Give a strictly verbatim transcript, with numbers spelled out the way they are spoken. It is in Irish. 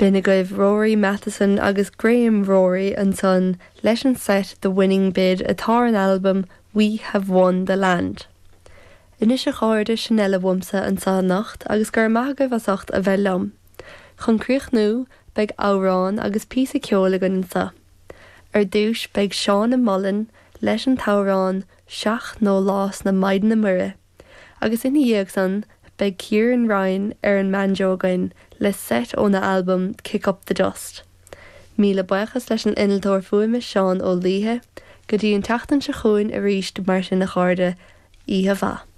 B'in agaibh Rory Matheson agus Graham Rory ansan leis an set The Winning Bid atá ar an albam We Have Won the Land. Anois a chairde sin uile uaimse anseo anocht agus go raibh maith agaibh as ucht a bheith liom. Chun críochnú beidh amhrán agus píosa ceoil againn anseo. Ar dtús beidh Seána Mullen leis an t-amhrán Seacht nDólás na Maighdine Muire, agus ina dhiaidh san beidh Kieran Ryan ar an mbanjo againn le set óna albam Kick Up the Dust. Míle buíochas leis an innealtóir fuaime Seán Ó Laoithe, go dtí an tseachtain seo chugainn arís mar sin a chairde oíche mhaith.